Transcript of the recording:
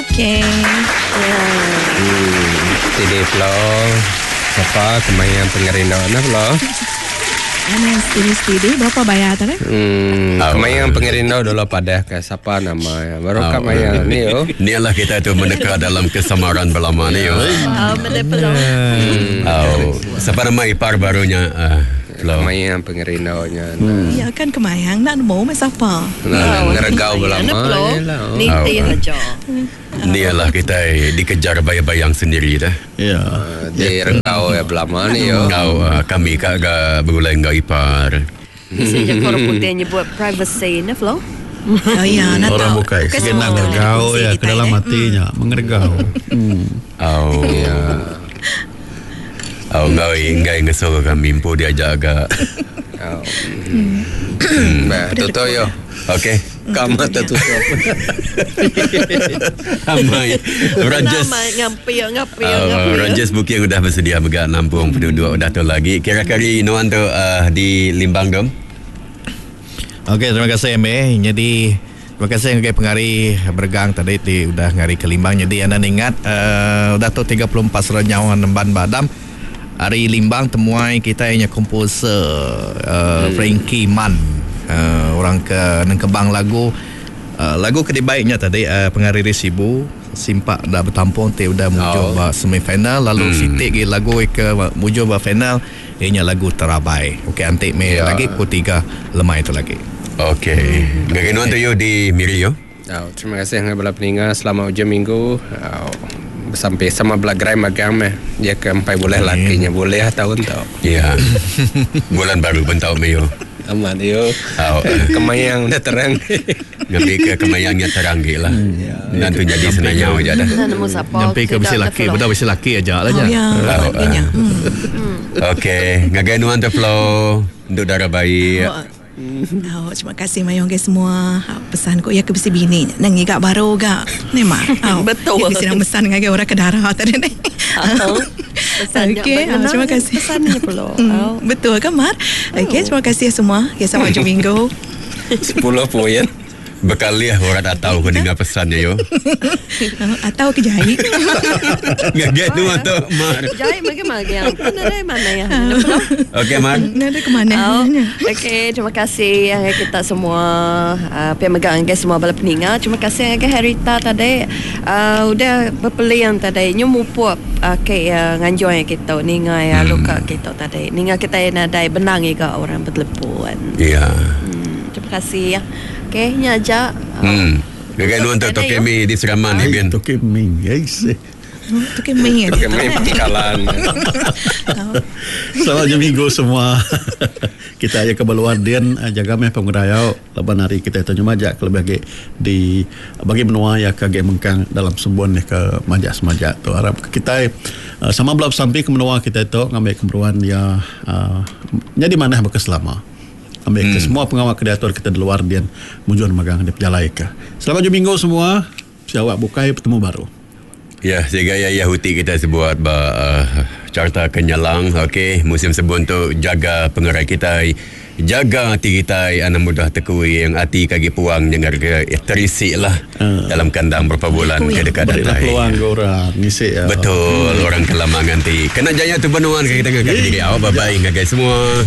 Okey. Hmm, sidi pelo. Sapa kemaya pengerindu nah pelo. Ana steady-steady berapa bayar tadi? Hmm, kemaya pengerindu dulu padah ke sapa nama ya. Baru ka maya ni yo. Ni lah kita tu meneka dalam kesamaran belama ni yo. Oh, meda pelo. Oh, sapa nama ipar barunya uh, Flo. Kemaya pengerindu nya. Ya kan kemayang nak nemu meh sapa. Nah, ngeregau Ana belama pelo. je lah. Nitih aja. Ni lah kita dikejar bayang-bayang sendiri dah. Ya. Diregau ya belama ni yo. Kau uh, kami kak ga begulai enggau ipar. Bisa je orang putih nyebut privacy ne Flo. Oh ya, nak Orang tahu. bukai Bukan segenang semua ngergau kongsi ya ke kita, dalam eh. hatinya mengergau. Hmm. Oh. Ya. Oh, enggau enggai ngesul kami empu diajak agak. Oh. Bah, tutup yo. Okey. Kamu tertutup. Amai. Rajas. Nama ngapi ngapi Uh, ngapi. Rajas Booking udah bersedia mega nampung penduduk udah tu lagi. Kira-kira Nuan tu uh, di Limbang dom. Okey, terima kasih MA. Jadi terima kasih ngagai pengari bergang tadi ti udah ngari ke Limbang. Jadi anda ingat uh, udah tu 34 serah nyawa nemban badam. Hari Limbang temuai kita hanya komposer uh, Frankie Man. Uh, orang ke nengkebang lagu uh, lagu ke dibaiknya tadi uh, pengari Sibu simpak dah bertampung ti udah muncul Oh. oh. semifinal lalu hmm. sitik gi lagu ke muncul ba final ianya lagu terabai. Okey antik me Ya. lagi pukul 3 lemai itu lagi. Okey. Ngagai Nuan tu yo di Miri yo. Oh, terima kasih dengan bala peninga selama hujung minggu. Oh, sampai sama bela gerai magang meh. Dia ke empai boleh lakinya boleh tahun tau. Ya. Bulan baru pun tau me yo. Aman yo. Oh, Kemayang udah terang. ngambil ke kemayangnya terang ge lah. Dan tu jadi senanya aja dah. Nah, nemu siapa. Nyampe ke besi laki, budak besi laki aja lah Oh nya. ya, Oh, maknanya. Hmm. Okey, ngagai Nuan tu Flo. Untuk darah baik. Oh, oh, terima kasih mayong ke semua. Oh, pesan ko ya ke besi bini. Nang ngigak baru gak. Ni mak. Oh, Betul. Ya besi nang pesan ngagai orang ke darah tadi ni. Oh, pesannya Okey, bagaimana oh, terima kasih. Pesannya pula. Hmm, Oh. betul ke Mar? Okey, terima kasih semua. Okey, sampai jumpa minggu. 10 poin. Bekaliah orang tak tahu kau dengar pesannya yo. Oh, Atau ke jahit. Ngagai Nuan tu Mar. Jai bagaimana yang mana mana ya. Ana Flo. Okey Mar. Nak ada ke mana? Oh, okey, terima kasih yang kita semua uh, pemegang ke semua bala peninga. Terima kasih ke Harita tadi. Uh, udah berpeliang tadi. Nyu mupuk uh, ke uh, nganjoi kita ninga ya luka kita tadi. Ninga kita nadai benang iga orang bertelepon. Ya. Terima kasih ya. Okey, nya aja. Hmm. Ngagai Nuan tu Tokemi di Seraman ni bin. Toke ming. Yes. Tu ke main. Kemai pangkalan. Selamat hujung minggu semua. kita aja ke Baluar Dian eh, jaga meh pengerayau laban hari kita tu majak ke lebih agi di bagi menua ya ke agi mengkang dalam sembuan ya ke majak semajak tu harap kita eh, sama belap sampai ke menua kita tu ngambil kemeruan ya uh, jadi mana berkeselama ambil ke semua pengawal ke diatur kita di luar Dian mujuan magang di pejalai ke. Selamat hujung minggu semua. Siawak bukai bertemu baru. Ya, sehingga ya Yahuti kita sebuat ba, uh, carta kenyalang, okey, musim sebun tu jaga pengerai kita, jaga hati kita, anak mudah tekui yang hati kaki puang jangan ke eh, terisi lah uh, dalam kandang berapa bulan ke dekat Berilah datai. peluang ke orang ngisi ya. Betul, orang kelamangan ti. Kena jaya tu benuan ke kita ngangkat diri. Awak bye-bye ngagai semua.